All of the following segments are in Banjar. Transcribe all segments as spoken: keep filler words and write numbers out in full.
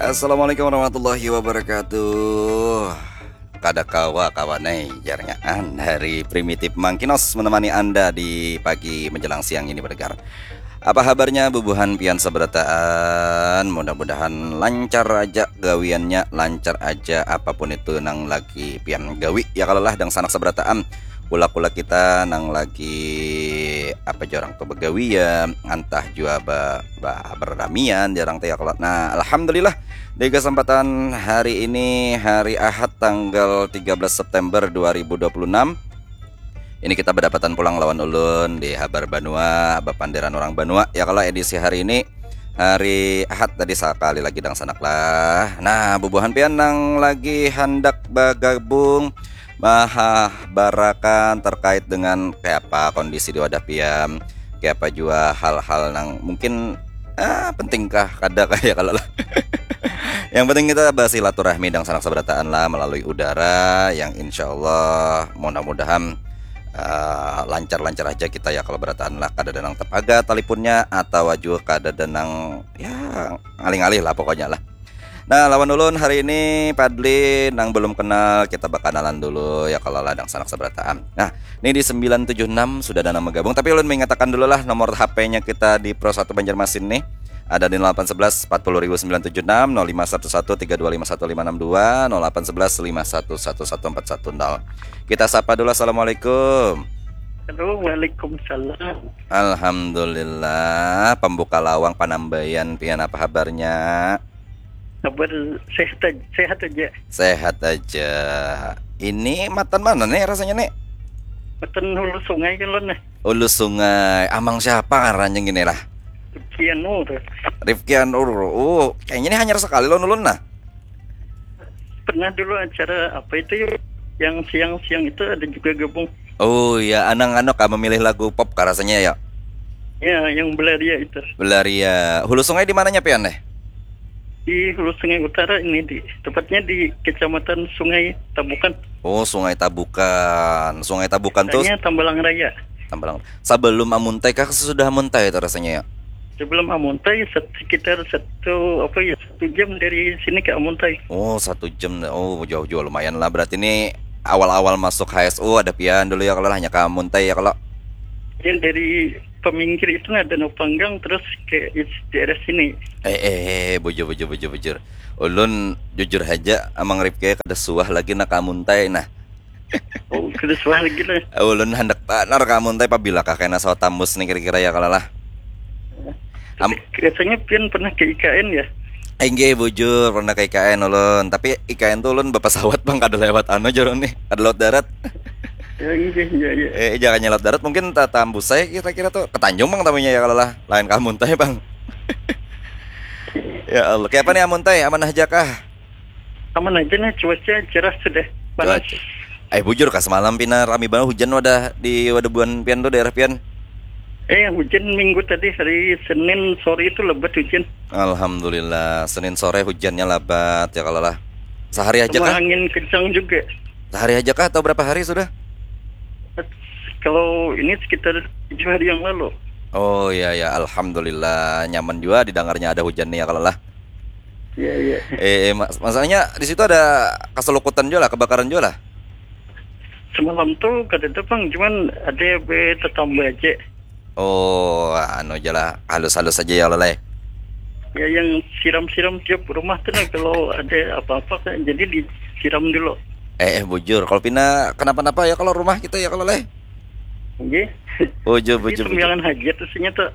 Assalamualaikum warahmatullahi wabarakatuh. Kada kawa kawan ai, jarnya an dari Primitif Mangkinos menemani Anda di pagi menjelang siang ini, pendengar. Apa habarnya bubuhan pian sabarataan? Mudah-mudahan lancar aja gawiannya, lancar aja apapun itu nang lagi pian gawi, ya kalo lah, dangsanak sabarataan. Kula-kula kita nang lagi, apa jar urang tu, bagawian, antah jua ba, ba, bararamian jar urang tu, ya kalo. Nah, alhamdulillah, di kesempatan hari ini, hari Ahad, tanggal tiga belas September dua ribu dua puluh enam, ini kita badapatan pulang lawan ulun di Habar Banua, Bapanderan Urang Banua, ya kalo, edisi hari ini, hari Ahad tadi, sakali lagi dangsanak lah. Nah, bubuhan pian nang lagi handak bagabung, mahabarakan terkait dengan kayapa kondisi di wadah pian, kayapa jua hal-hal nang mungkin, ah, penting kah, kada kah, ya kalo lah. Yang penting kita basilaturahmi dangsanak sabarataan lah melalui udara, yang insya Allah mudah-mudahan, ah, lancar-lancar aja kita, ya kalo, barataan lah, kadada nang tapaga talipunnya atawa jua kadada nang, ya, ngalih-ngalih lah pokoknya lah. Nah, lawan ulun hari ini Padli, nang belum kenal kita bakanalan dulu, ya kalo lah, dangsanak sabarataan. Nah, ini di sembilan tujuh enam sudah ada nang bagabung, tapi ulun mengatakan dulu lah nomor H P-nya kita di Pro satu Banjarmasin nih. Ada di nol delapan sebelas empat puluh ribu sembilan tujuh enam, nol lima satu satu tiga dua lima satu lima enam dua, nol delapan sebelas lima satu satu satu empat satu nol. Kita sapa dulu, assalamualaikum. Halo, waalaikumsalam. Alhamdulillah, pembuka lawang panambayan pian, apa habarnya? Kabar sehat aja, sehat aja. Sehat aja. Ini matan mana nih rasanya nih? Matan hulu sungai kan lon nih. Hulu sungai. Amang siapa ngarannya gini lah? Kian Nur. Rifki Anur. Oh, kayaknya ini hanyar sekali lon ulun nah. Pernah dulu acara apa itu yuk? Yang siang-siang itu ada juga gabung. Oh ya, anang anu kah memilih lagu pop kah rasanya ya? Ya, yang Belaria itu. Belaria. Hulu sungai di mananya pian deh? Di Hulu Sungai Utara ini, di tepatnya di Kecamatan Sungai Tabukan. Oh, Sungai Tabukan. Sungai Tabukan tuh Hanya Tambalang Raya. Tambalang. Sebelum Amuntai kah, sesudah Amuntai itu rasanya ya? Sebelum Amuntai set- sekitar satu apa ya satu jam dari sini ke Amuntai. Oh, satu jam. Oh, jauh juga lumayan lah. Berarti ini awal-awal masuk H S U ada pian dulu ya, kalau hanya ke Amuntai ya kalau. Yang dari peminggir itu ada Danau Panggang terus ke is- daerah sini. Eh, eh, eh, bujur, bujur, bujur, bujur. Ulun jujur aja, Amang Rifki kada suah lagi nak ke Amuntai nah. Oh, kada suah lagi lah. Ulun handak banar ke Amuntai, pabila kah kena sawat tambus nih kira-kira ya kalau lah. Am- Rasanya pian pernah ke I K N ya? Inggih bujur, pernah ke I K N ulun. Tapi I K N tuh ulun bapasawat bang, kada lewat anu jar nih, kada lewat darat. Ya, iya, iya, iya. Eh, jangan nyelot darat, mungkin tatambus saya kira-kira tuh ke Tanjung bang tamunya ya kalau lah, lain ke Amuntai bang. Ya Allah, kayak apa nih Amuntai, aman aja kah? Aman aja nih, cuaca cerah sudah. Panas. Cuaca. Eh bujur kah, semalam pina rami banget hujan wadah di wadah buan pian tuh, daerah pian. Eh, hujan minggu tadi, hari Senin sore itu lebat hujan. Alhamdulillah, Senin sore hujannya labat ya kalau lah. Sehari aja Sama kah? Angin kencang juga. Sehari aja kah atau berapa hari sudah? Kalau ini sekitar tujuh hari yang lalu. Oh iya ya, alhamdulillah, nyaman juga didengarnya ada hujan nih ya kalau lah. Iya, iya. Eh, eh, mas- masalahnya di situ ada keselukutan juga lah, kebakaran juga lah. Semalam tuh kada ada bang, cuman ada be tetangga aja. Oh, anu aja lah, halus-halus aja ya leleh. Ya, yang siram-siram tiap rumah tuh nah, kalau ada apa-apa kan, jadi disiram dulu. Eh, eh bujur, kalau pina kenapa-napa ya kalau rumah kita ya kalau leh. Nggih. Bujur, Jadi bujur, bujur. sembilan hajat isinya tuh.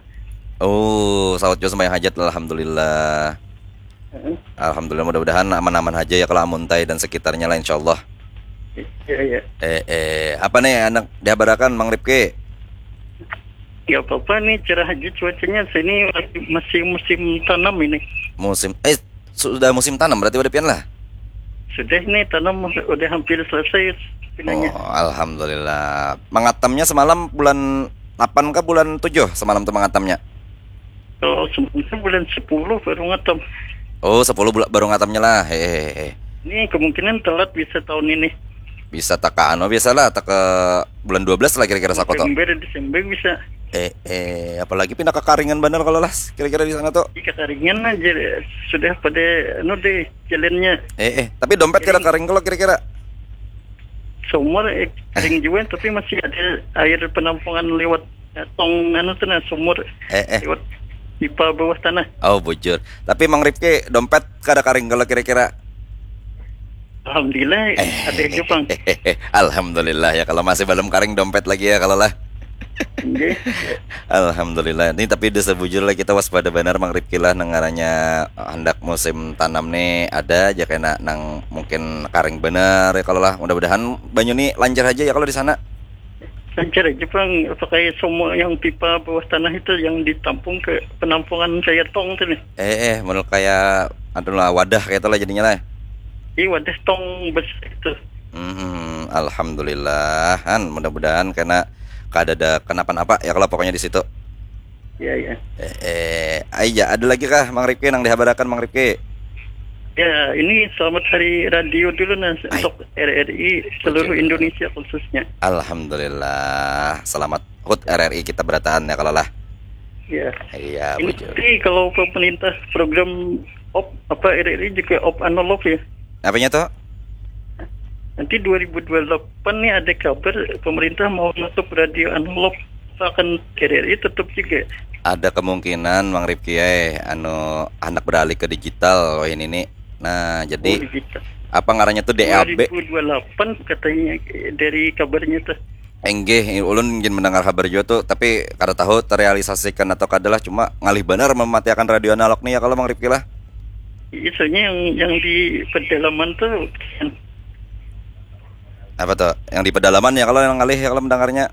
Oh, saut juga sembahyang hajat, alhamdulillah. Heeh. Alhamdulillah, mudah-mudahan aman-aman aja ya kalau Amuntai dan sekitarnya lah, insyaallah. Iya, iya. Eh, eh, apa nih anak dihabarakan Mang Rifki? Ya apa-apa nih, cerah aja cuacanya. Sini masih musim tanam ini. Musim, eh, sudah musim tanam berarti pada pian lah. Sudah nih, tanam udah hampir selesai pinanya. Oh, alhamdulillah. Mengatamnya semalam bulan delapan ke bulan tujuh semalam tuh mengatamnya. Kalau sebenarnya bulan sepuluh baru ngatam. Oh, sepuluh bula- baru ngatamnya lah. Hehehe. Ini kemungkinan telat bisa tahun ini. Bisa taka anu biasalah, taka bulan dua belas lah kira-kira sakoto. November, Desember bisa. Eh, eh, apalagi pindah kakaringan banar kalau lah kira-kira di sana tuh. Ih, kakaringan aja sudah pada anu deh jalannya. Eh, eh, tapi dompet kira karing kalau kira-kira. Sumur eh, kering juga tapi masih ada air penampungan lewat eh, tong anu tuh nah sumur. Eh, eh. Lewat pipa bawah tanah. Oh, bujur. Tapi Mang Rifki dompet kada karing kalau kira-kira. Alhamdulillah eh, ada Jepang. Alhamdulillah ya kalau masih belum karing dompet lagi ya kalau lah. Alhamdulillah. Ini tapi udah sebujur lah kita waspada benar Mang Rifki lah nengaranya hendak musim tanam nih ada aja kena nang mungkin karing benar ya kalau lah. Mudah-mudahan banyu nih lancar aja ya kalau di sana. Lancar aja bang, pakai semua yang pipa bawah tanah itu yang ditampung ke penampungan kayak tong tuh nih. Eh eh, menurut kayak adalah wadah kayak itulah jadinya lah. Iya wadah tong besar itu. Hmm, alhamdulillah, han mudah-mudahan karena kada ada kenapa-napa ya kalau pokoknya di situ. Iya iya. Eh, eh, aja ada lagi kah Mang Rifki yang dihabarakan Mang Rifki? Ya, ini selamat hari radio dulu nah untuk R R I seluruh Indonesia khususnya. Alhamdulillah, selamat hut R R I kita berataan ya kalau lah. Ya. Iya, ini betul. Tapi kalau pemerintah program op apa R R I juga op analog ya. Apanya tuh? Nanti dua ribu dua puluh delapan nih ada kabar pemerintah mau nutup radio analog akan R R I tetap juga. Ada kemungkinan Mang Rifki eh anu anak beralih ke digital wah ini nih. Nah, jadi oh, digital. Apa ngarannya tuh D A B? dua ribu dua puluh delapan katanya dari kabarnya tuh. Enggih, ulun ingin mendengar kabar juga tuh, tapi kada tahu terrealisasikan atau kada lah, cuma ngalih benar mematiakan radio analog nih ya kalau Mang Rifki lah. Iya, soalnya yang yang di pedalaman tuh apa tuh? Yang di pedalaman ya kalau yang ngalih ya kalau mendengarnya.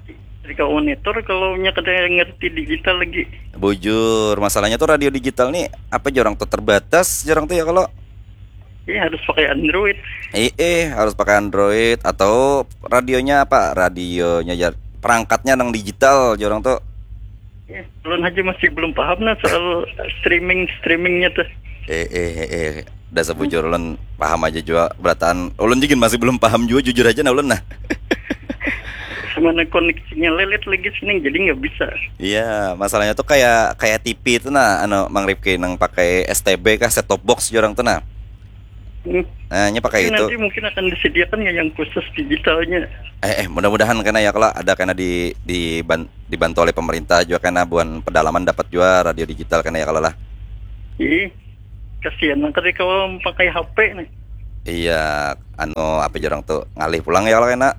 Jadi kalau monitor kalau nya kada ngerti digital lagi. Bujur, masalahnya tuh radio digital nih apa jorang tuh terbatas jorang tuh ya kalau. Iya harus pakai Android. Eh, eh harus pakai Android atau radionya apa? Radionya ya perangkatnya nang digital jorang tuh. Ulun haja masih belum paham nah soal streaming streamingnya tuh. Eh eh eh, eh. Dasar bujur ulun paham aja jua berataan. Ulun juga masih belum paham jua jujur aja nah ulun nah. Mana koneksinya lelet lagi sini jadi nggak bisa. Iya, masalahnya tuh kayak kayak T V itu nah, anu Mang Rifki nang pakai S T B kah set top box jorang tuh nah. Hmm. Nah, ini pakai itu. Nanti mungkin akan disediakan ya yang khusus digitalnya. Eh, eh mudah-mudahan kena ya kalau ada kena di di dibantu oleh pemerintah juga kena buan pedalaman dapat juga radio digital kena ya kalau lah. Ih, kasihan nang ketika orang pakai H P nih. Iya, anu apa jorang tuh ngalih pulang ya kalau kena.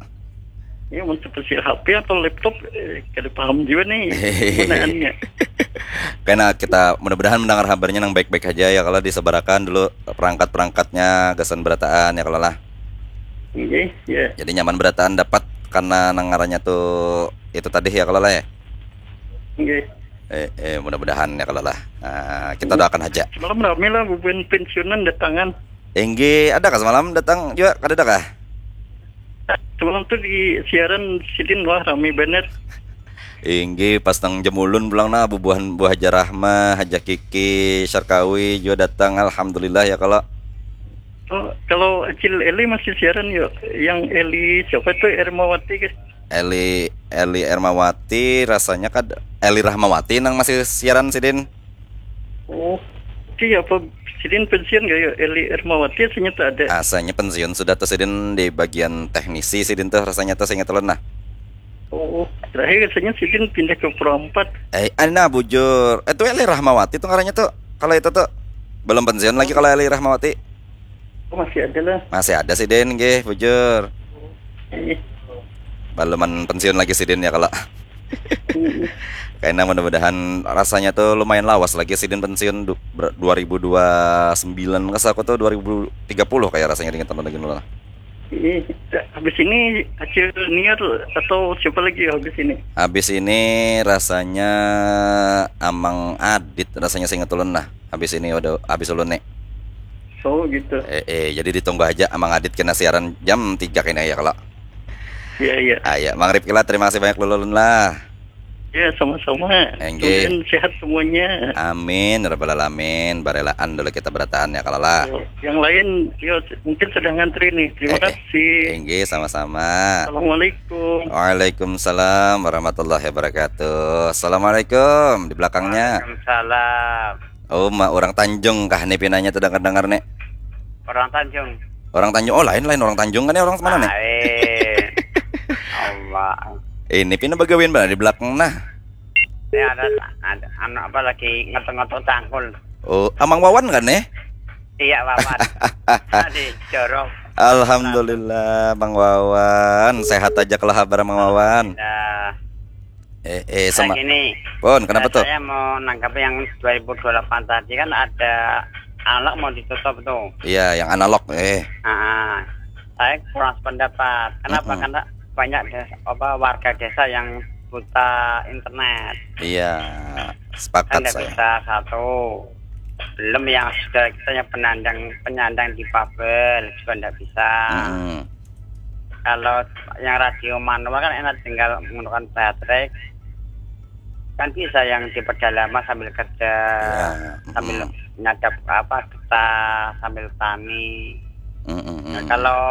Iya, untuk kecil H P atau laptop eh, kada paham juga nih gunaannya. Karena kita mudah-mudahan mendengar kabarnya yang baik-baik aja ya kalau disebarakan dulu perangkat-perangkatnya gasan berataan ya kalau lah. Iya, iya. Jadi nyaman berataan dapat karena nangarannya tuh itu tadi ya kalau lah ya. Iya. Eh, eh mudah-mudahan ya kalau lah. Nah, kita doakan aja. Semalam rame lah bubuhan pensiunan datangan. Enggih, ada kah semalam datang juga? Kada ada kah? Semalam tuh di siaran sidin wah rame banget. Inggih, pas nang jam ulun pulang nah bubuhan buah Haja Rahma, Haja Kiki, Syarkawi juga datang alhamdulillah ya kalau. Oh, kalau Acil Eli masih siaran yuk. Yang Eli siapa tuh Ermawati guys? Eli Eli Ermawati rasanya kad Eli Rahmawati nang masih siaran sidin. Oh, iya apa sidin pensiun gak ya? Eli Ermawati aslinya tak ada. Aslinya pensiun sudah tuh sidin di bagian teknisi sidin tuh rasanya tuh seingat ulun nah. Oh, terakhir rasanya sidin pindah ke Pro empat. Eh, nah bujur. Eh tuh Eli Rahmawati tuh ngarannya tuh. Kalau itu tuh belum pensiun lagi kalau Eli Rahmawati. Oh, masih ada lah. Masih ada sidin gih, bujur. Iya. Baluman pensiun lagi sidin ya kalau. Karena mudah-mudahan rasanya tuh lumayan lawas lagi sidin pensiun du, ber, dua ribu dua puluh sembilan ke aku tuh dua ribu tiga puluh kayak rasanya dengan teman lagi lah. Iya, habis ini Acil Niar atau siapa lagi habis ini? Habis ini rasanya Amang Adit rasanya seingat ulun lah. Habis ini udah habis ulun nih. Oh gitu. Eh, eh jadi ditunggu aja Amang Adit kena siaran jam tiga kena ya kalau. Iya iya. Ah, ya, Mang Rifki lah terima kasih banyak dulu lah. Ya, sama-sama. Enggih. Kemudian sehat semuanya. Amin, rabbal alamin. Barelaan dulu kita berataan ya, kalau lah. Yo, yang lain, yo, mungkin sedang ngantri nih. Terima Eh, eh. kasih. Enggih, sama-sama. Assalamualaikum. Waalaikumsalam warahmatullahi wabarakatuh. Assalamualaikum. Di belakangnya. Waalaikumsalam. Oh, ma, orang Tanjung kah nih pinanya, terdengar-dengar nih? Orang Tanjung. Orang Tanjung. Oh, lain, lain orang Tanjung kan ya, orang mana nih? Lain. Allah. Ini pina bagawian mana di belakang nah? Ini ada, ada anu apa lagi ngetok-ngetok cangkul. Oh, Amang Wawan kan nih? Iya, Wawan. Tadi jorok. Alhamdulillah, Bang Wawan. Sehat aja kalau kabar Bang Wawan. Nah, Eh, eh, sama. Gini, Pun, kenapa eh, tuh? Saya mau nangkap yang dua ribu dua puluh delapan tadi kan ada analog mau ditutup tuh. Iya, yang analog, eh. Ah, saya kurang sependapat. Kenapa? Mm-mm. Karena banyak des-, apa, warga desa yang buta internet. Iya, sepakat Kan nggak saya. Bisa satu. Belum yang sudah kita yang penyandang, penyandang difabel juga nggak bisa. Mm-mm. Kalau yang radio manual kan enak, tinggal menggunakan baterai. Kan bisa yang di pedalaman sambil kerja, Ya, sambil mm-mm. Nyadap apa, getah, sambil tani. Mm-mm. Nah, kalau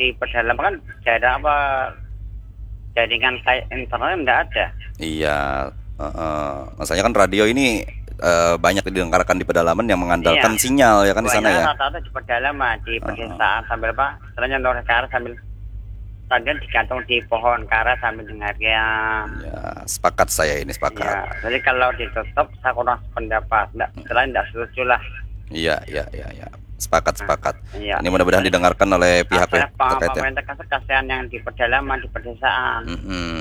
di pedalaman kan jarang apa, jaringan kayak internet nggak ada. Iya, heeh. Masalahnya kan radio ini, eh, banyak didengarkan di pedalaman yang mengandalkan Iya. Sinyal ya kan di sana Banyak ya. Rata-rata di pedalaman, di Heeh. Pedesaan sambil apa, istilahnya noreh karet sambil tadian digantung di pohon karet sambil dengarkan. Ya, sepakat saya ini, sepakat. Ya, jadi kalau ditutup, saya kurang sependapat. Nggak, Hmm. Istilahnya nggak setuju lah. Iya, iya, iya, iya. Sepakat, Nah, sepakat. Iya. Ini mudah-mudahan didengarkan oleh pihak Apa ya, terkait ya. Pemerintah kan kasihan yang di pedalaman, di pedesaan. Mm-mm.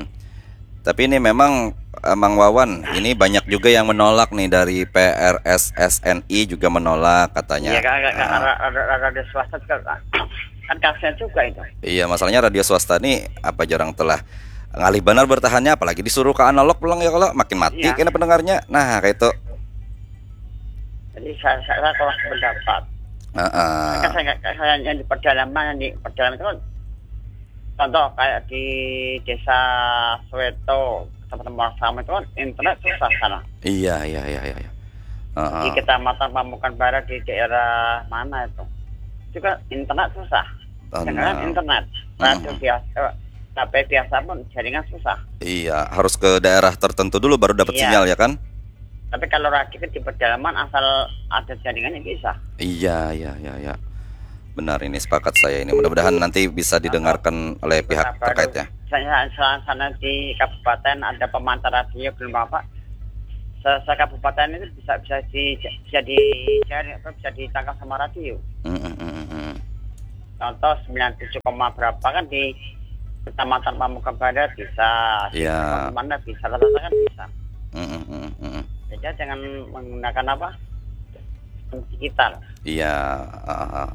Tapi ini memang, eh, Mang Wawan, ini banyak juga yang menolak nih dari P R S S N I juga menolak katanya. Iya, kan, kan, kan, Ah. Ada, ada, ada swasta juga kan. Kan kasihan juga itu. Iya, masalahnya radio swasta nih apa jarang telah ngalih benar bertahannya, apalagi disuruh ke analog pulang ya kalau makin mati Iya. Kena pendengarnya. Nah, kayak itu. Jadi saya, saya, saya kurang sependapat. Heeh. Kan saya, saya yang di pedalaman, yang di pedalaman itu kan contoh kayak di desa Soweto, Kecamatan Muara Saman itu kan internet susah sana. Iya, iya, iya, iya, iya. Heeh. Di Kecamatan Pamukan Barat di daerah mana itu? Juga internet susah. Jangan internet. Radio biasa, eh, H P biasa pun jaringan susah. Iya, harus ke daerah tertentu dulu baru dapat Iya. Sinyal ya kan? Tapi kalau radio kan di pedalaman asal ada jaringannya bisa. Iya, iya, iya, iya. Benar, ini sepakat saya ini. Mudah-mudahan nanti bisa didengarkan oleh pihak Apa terkait ya. Misalnya sana, sana di kabupaten ada pemancar radio belum apa? Se, se kabupaten itu bisa, bisa di, bisa dicari apa, bisa ditangkap sama radio. Mm, mm, mm, mm, mm. Contoh sembilan tujuh koma berapa kan di Kecamatan Pamuka Barat bisa, di Iya. Kecamatan mana bisa, rata-rata kan bisa. Mm, mm, mm, mm, mm. Jadi jangan menggunakan apa? Digital. Iya, ah, ah.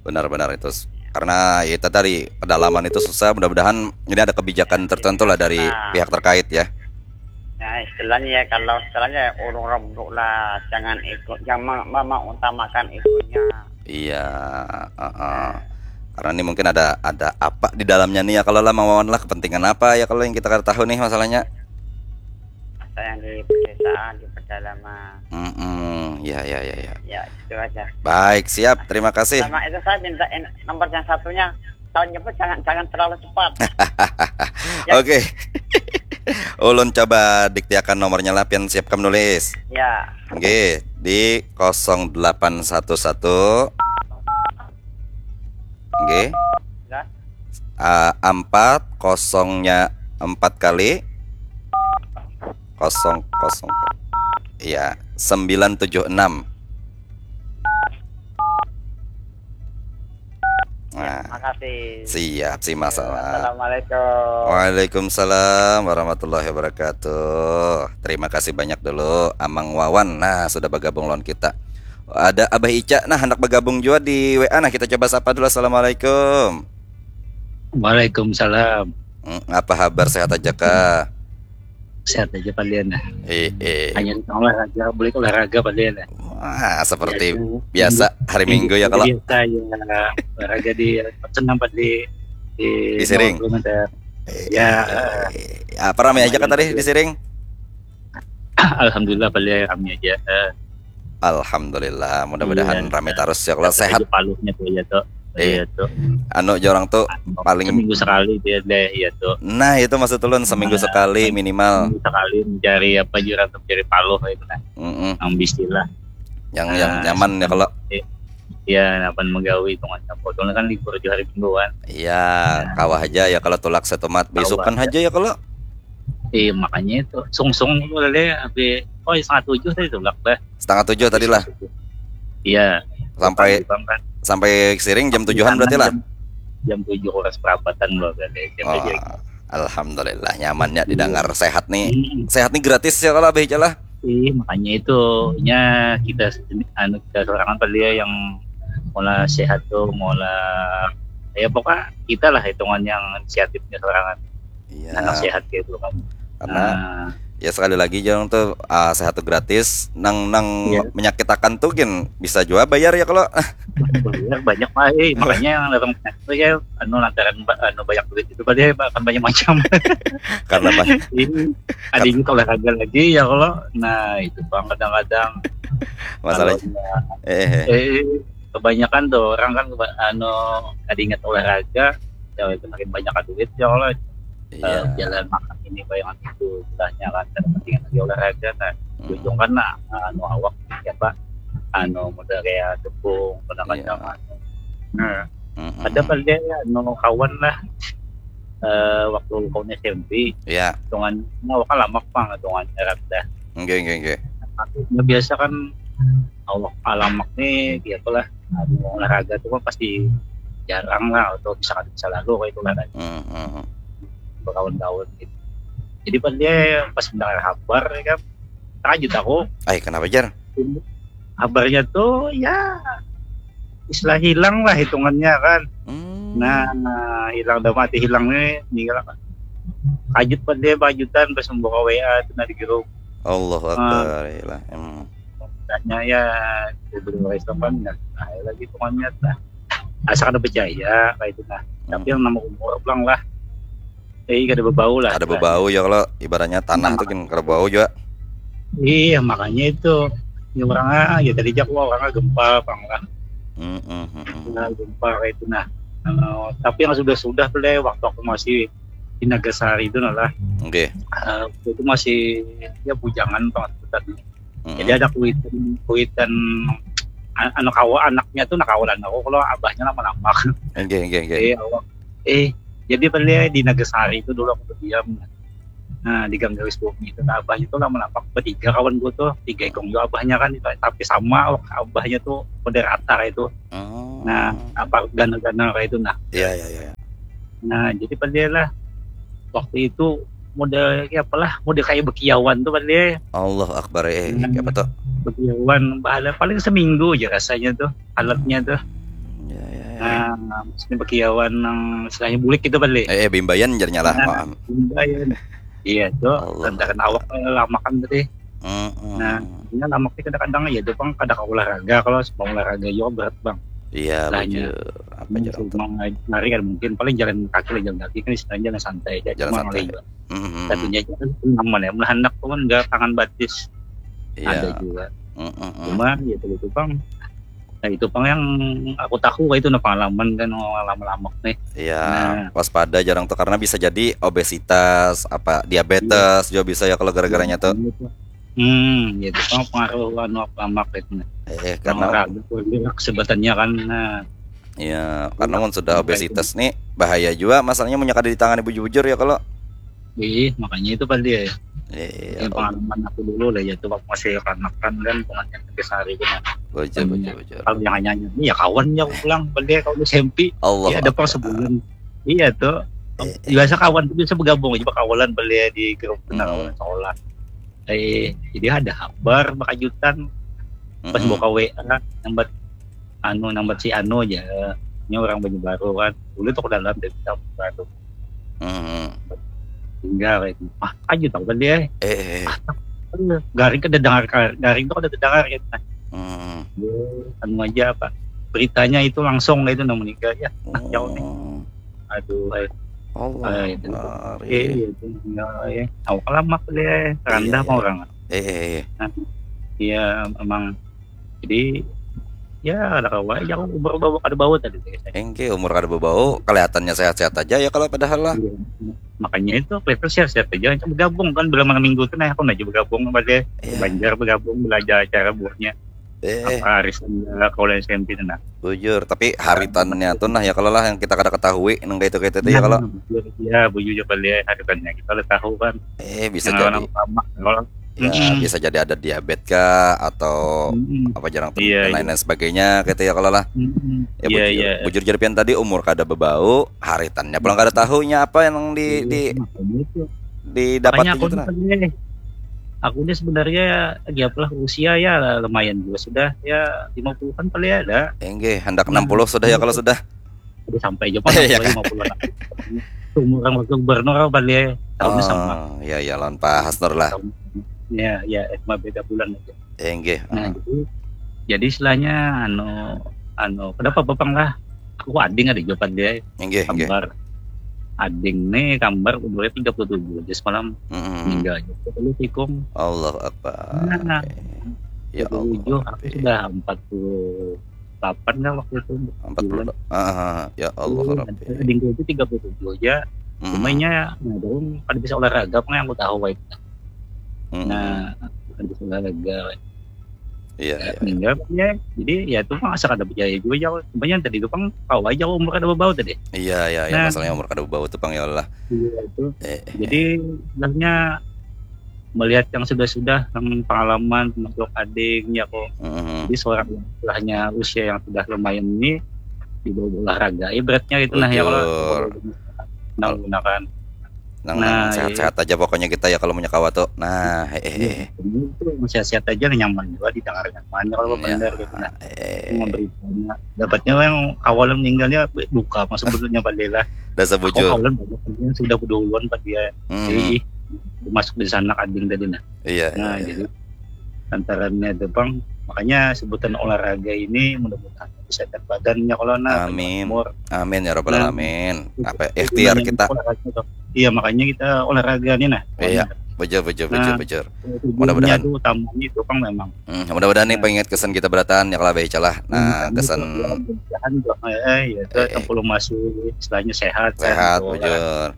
Benar-benar itu. S-, karena ya itu tadi, pedalaman itu susah, mudah-mudahan ini ada kebijakan tertentu lah dari Nah. Pihak terkait ya. Nah, istilahnya ya, kalau istilahnya urung rembuk lah, jangan ikut, jangan mem-, mem-, mengutamakan itunya. Iya, heeh. Karena ini mungkin ada, ada apa di dalamnya nih ya, kalau lah Mang Wawan lah, kepentingan apa ya kalau yang kita kada tahu nih masalahnya. Masa yang di pedesaan, di pedalaman. Mm-mm, ya, ya, ya, ya. Ya, itu aja. Baik, siap. Terima kasih. Sama itu saya minta in-, nomor yang satunya. Kalau nyebut jangan, jangan terlalu cepat. Ya. Oke. Ulun coba diktiakan nomornya lah, pian siap kam nulis. Ya. Nggih, di kosong delapan satu satu. Nggih. Ya. Ah, empat, kosongnya empat kali. Kosong, kosong. Iya, sembilan tujuh enam. Nah, Makasih. Siap, si masalah. Assalamualaikum. Waalaikumsalam warahmatullahi wabarakatuh. Terima kasih banyak dulu, Amang Wawan. Nah, sudah bergabung lawan kita. Ada Abah Ica, nah, hendak bergabung juga di W A. Nah, kita coba sapa dulu. Assalamualaikum. Waalaikumsalam. Hmm, apa kabar? Sehat aja kah? Sehat aja palian lah. Eh, eh. Hanya olahraga, boleh olahraga palian lah. Wah, seperti biasa, biasa hari Minggu ya kalau. Biasa ya, olahraga di senam padi di Siring. Ada. Eh, ya. Eh, apa ramai aja kah tadi di Siring? Alhamdulillah, paling rami aja. Eh, Alhamdulillah, mudah-mudahan Iya. rami tarus ya kalau sehat. Paluhnya tuh ya tuh. Iya. Iya tuh. Anu, jorang tuh paling Seminggu sekali dia deh, iya tuh. Nah, itu maksud ulun, seminggu Nah, sekali minimal. Seminggu sekali mencari apa, jurang tuh, mencari paluh itu nah. Mm-mm. Yang bismillah. Yang yang Nah, nyaman ya kalau Ya, apa menggawi itu kan. Kebetulan kan libur di hari Minggu kan. Iya, kawah aja ya kalau tulak setumat, beisukan aja ya kalau. Iya, makanya itu sungsung itu lah deh, habis, oh, setengah tujuh tadi tulak dah. Setengah tujuh tadi lah. Iya. Sampai Bang kan. Sampai siring jam tujuhan berarti lah. Jam, jam tujuh kurang seperempatan loh, berarti. Jam Oh, tujuh. Alhamdulillah, nyamannya didengar. Sehat nih. Hmm. Sehat nih gratis ya kalau, Abah Ica lah. Iya, makanya itu nya kita, anu, kita sorangan kali ya yang mula sehat tuh, mula, ya pokoknya kita lah hitungan yang inisiatifnya sorangan. Iya. Anak sehat gitu kan. Karena Nah, ya sekali lagi, jorang tuh, ah, sehat tuh gratis. Nang nang Iya. menyakitakan tuh gin bisa juga bayar ya kalau. Banyak, banyak lah, eh. Makanya yang orang penyakit tuh ya, anu, lantaran ba- anu, banyak duit itu, pada bahkan banyak macam. Karena banyak Ini ada yang olahraga lagi ya kalau, nah, itu bang, kadang-kadang masalah. kalau, Eh, eh, eh. eh, kebanyakan tuh orang kan keba- anu, ada ingat olahraga, ya itu makin banyak duit ya kalau. Iya. Eh, jalan makan ini, bayangan itu, istilahnya kan, dan penting lagi olahraga, nah, Mm-mm. ujung kan, nah, anu, awak ya, Pak, anu, model kayak tepung, kadang-kadang Iya. anu. Nah, Mm-mm. ada kali ya, anu, kawan lah, eh, waktu kawan S M P, Iya. hitungan, nah, awak kan lamak, Bang, hitungan rendah. Nggih, nggih, nggih. Nah, biasa kan awak lamak nih, ya apalah, anu, olahraga tuh kan pasti jarang lah, atau bisa, bisa lalu kayak itu lah kan. Mm-mm. Berkawan-kawan gitu. Jadi pas dia pas mendengar kabar ya kan, terkejut aku. Ay, kenapa, Jar? Kabarnya tuh ya istilah hilang lah hitungannya kan. Hmm. Nah, hilang, dah mati hilang nih, tinggal apa? Kajut pas dia, bajutan pas membuka W A tuh, nah, di grup. Allahu Akbar, iyalah. Hmm. Tanya ya, beberapa restoran, nah, nah, lagi pokoknya, nah, asa kada percaya kayak itu, nah. Tapi yang nama umur pulang lah, eh, kada berbau lah. Ada berbau ya kalau ibaratnya tanah tuh kan kada bau juga. Iya, makanya itu, ya, orang, ah, ya tadi jak, wah, orang gempa, bang lah. Mm, mm, mm, mm. Nah, gempa kayak itu, nah. Eh, tapi yang sudah-sudah tuh deh, waktu aku masih di Nagasari itu, nah lah. Oke. Eh, waktu itu masih, ya, bujangan banget, bukan. Mm. Jadi ada kuitan, kuitan, an- anu, kawa, anaknya tuh, nah, kawalan aku, kalau abahnya lama-lama. Oke, oke, oke. Eh, awak, eh, jadi beli di Nagasari itu dulu aku berdiam. Nah, di Gang Garis Bumi itu, nah, abahnya tuh lama-lama bertiga kawan gue tuh, tiga ikung juga abahnya kan, tapi sama awak abahnya tuh moderator itu. Oh. Nah, apa, ganal-ganal kayak itu, nah. Iya, iya, iya. Nah, jadi pada lah waktu itu model, ya apalah, model kayak bekiawan tuh pada. Allahu Akbar, eh, Hmm. Apa tuh? Bekiawan, ada paling seminggu aja rasanya tuh, alatnya tuh. Ya, ya, ya. Nah, maksudnya bekiawan yang istilahnya bulik gitu pada. Eh, eh, bimbayan jarnya lah. Nah. Maaf. Bimbayan. Iya tuh, Allah lantaran awak lama kan tadi. Mm, mm. Nah, ini lama sih kadang-kadang ya tuh, bang, kada ke olahraga, kalau sebab olahraga juga berat, bang. Iya, Lah, iya. bujur. Apa aja tuh? Cuma lari kan mungkin, paling jalan kaki lah, jalan kaki kan istilahnya jalan santai aja. Jalan Cuma santai. lari. Mm, mm, Tapi mm. ya kan aman ya, melihat anak tuh kan nggak tangan batis. Iya. Ada juga. Mm, mm, mm. Cuma ya itu, bang. Nah, itu bang yang aku tahu, itu nah pengalaman kan, pengalaman lama nih. Iya, Nah. Waspada jarang tuh karena bisa jadi obesitas, apa diabetes juga bisa ya kalau gara-garanya tuh. Hmm, gitu. Bang, pengaruh anu, apa, lamak itu nah. Eh, karena Olahraga, sebutannya kan. Nah, Iya, karena mun sudah obesitas nih bahaya juga masalahnya, mun kada ditangani bujur-bujur ya kalau. Iya, makanya itu pada ya. Iya. Ya, pengalaman aku dulu lah ya, tuh waktu masih kanakan kan, pengajian tiga hari itu, nah. Bujur, Hmm. bujur, bujur. Kalau yang hanya ini ya kawan ya pulang, beli kalau S M P. Allah. Ya ada pas sebulan. Iya tuh. Eh, Biasa kawan tuh biasa bergabung aja, berkawalan beli di grup, nah, Hmm. sekolah. Eh, jadi ada kabar berkejutan pas Mm-mm. buka W A, nambat anu, nambat si anu aja. Ini orang Banyu Baru kan. Dulu tuh ke dalam dari Banyu Baru. Mm-mm. Tinggal kayak gitu. Ah, aja tahu kan dia. Eh, eh, eh. Garing kada dengar, garing tuh kada dengar gitu. Nah, Mm-mm. dia anu aja apa? Beritanya itu langsung gitu, nah, meninggal ya. Nah, jauh nih. Oh. Aduh, eh. Allah. Ah, itu. Akbar. Eh, itu tinggal ya. Awak lama dia, rendah Iya, mau iya. Orang. Eh, eh, eh. Nah, iya emang. Jadi ya ada kawa aja aku umur bawa ada bawa tadi guys. Engke umur kada bebau, kelihatannya sehat-sehat aja ya kalau padahal lah. Iya. Makanya itu kelihatan sehat-sehat aja. Macam bergabung kan bila malam minggu tuh nah aku aja bergabung pada Iya. Banjar bergabung belajar acara buahnya Eh, apa arisan kalau S M P tuh nah. Bujur, tapi haritannya tuh nah ya kalau lah yang kita kada ketahui nang kayak itu kayak itu ya kalau. Ya bujur juga lihat haritannya kita udah tahu kan. Eh, bisa Yang jadi. Orang lama kalau Ya, bisa jadi ada diabetes kah atau Mm-mm. apa jarang Iya, dan lain-lain sebagainya gitu ya kalau lah. Mm-mm. Ya Iya, bujur, iya. Bujur jadi pian tadi umur kada bebau, haritannya pulang kada tahunya apa yang di di Makanya itu. didapat Makanya aku gitu ini nah. Kan, aku ini sebenarnya ya apalah usia ya lumayan juga sudah ya lima puluhan kali ada. Enggih, hendak enam puluh sudah ya kalau sudah. Udah sampai aja pas Iya, lima puluh lah. Umur orang waktu gubernur apa dia tahunnya sama. Oh, ya ya lawan Pak Hasnur lah. Ya, ya, cuma beda bulan aja. Enggih. Nah, jadi jadi istilahnya anu anu kenapa Bapang lah? Aku ading ada juga dia Enggih, enggih. Kambar. Ading nih kambar umurnya tiga puluh tujuh aja semalam Mm-mm. meninggal aja. Lu tikung. Allahu Akbar. Nah, Ya tiga puluh tujuh Allah. aku sudah empat puluh delapan lah waktu itu. Empat puluh. Ah, ya Allah Rabbi. Adingku itu tiga puluh tujuh aja. Mm-mm. Cumanya nah, dong kada bisa olahraga apa yang aku tahu itu. Mm-mm. Nah, kada bisa olahraga. Iya, iya. Meninggal ya. Jadi ya itu mah asa kada percaya juga ya. Cumanya tadi itu pang kawa aja umur kada bebau tadi. Iya, iya, iya, Nah. Masalahnya umur kada bebau tuh pang ya Allah. Iya itu. Eh, eh, Jadi sebenarnya melihat yang sudah-sudah yang pengalaman termasuk ading ya kok. mm-mm. Jadi seorang istilahnya usia yang sudah lumayan ini dibawa olahraga ya beratnya itu nah ya kalau Bujur. Nah, gunakan. Nang Nah, sehat-sehat aja pokoknya kita ya kalau punya kawa tuh. Nah, eh, eh, eh. Ini tuh sehat-sehat aja nih, nyaman juga didengar nyaman kalau Ya, benar gitu nah. eh, Memberi banyak. Dapatnya yang awalnya meninggalnya duka mah sebetulnya pada lah. Dasar Aku bujur. Awalnya banyak yang sudah berduluan pada dia. Hmm, Jadi masuk di sana ading tadi nah. iya, iya, Nah, iya. Jadi antarannya itu bang, makanya sebutan olahraga ini mudah-mudahan bisa terbadannya kalau nah Amin. Umur. Amin ya rabbal Nah, alamin. Itu- Apa itu ikhtiar namanya kita? Olahraga tuh. Iya makanya kita olahraga nih nah. Iya, bujur, bujur, bujur, Nah. bujur. Tujuannya Mudah-mudahan. Tuh utamanya itu bang memang. Hmm, mudah-mudahan nih Nah. pengingat kesan kita berataan ya kalau baca lah. Nah, Hmm, kesan mudah-mudahan juga, eh, ya, itu Eh, eh. Tempur masuk istilahnya sehat, Sehat, gitu, bujur.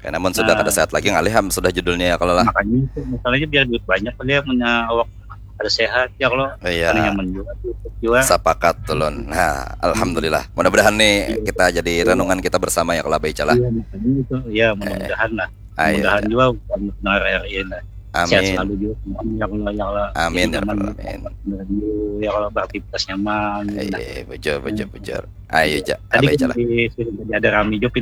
Karena mun sudah Nah. Kada sehat lagi ngalih am sudah judulnya ya kalau lah. Makanya itu masalahnya biar duit banyak dia punya awak ada sehat ya kalau Iya. Ada nyaman juga tuh juga. Sepakat tulun. Nah, alhamdulillah. Mudah-mudahan nih kita jadi renungan kita bersama ya kalau baca lah. Iya, makanya itu. Ya, mudah-mudahan lah. Ayo. Mudah-mudahan juga bukan benar R I lah. Sehat Amin. Selalu juga semuanya ya Allah ya Allah. Amin Jadi ya rabbal nyaman alamin. Benar dulu ya kalau beraktivitas nyaman. Nah, Eh, bujur, bujur, bujur. Ayo ja, tadi abai kan ja lah. Di, tadi ada rami juga pina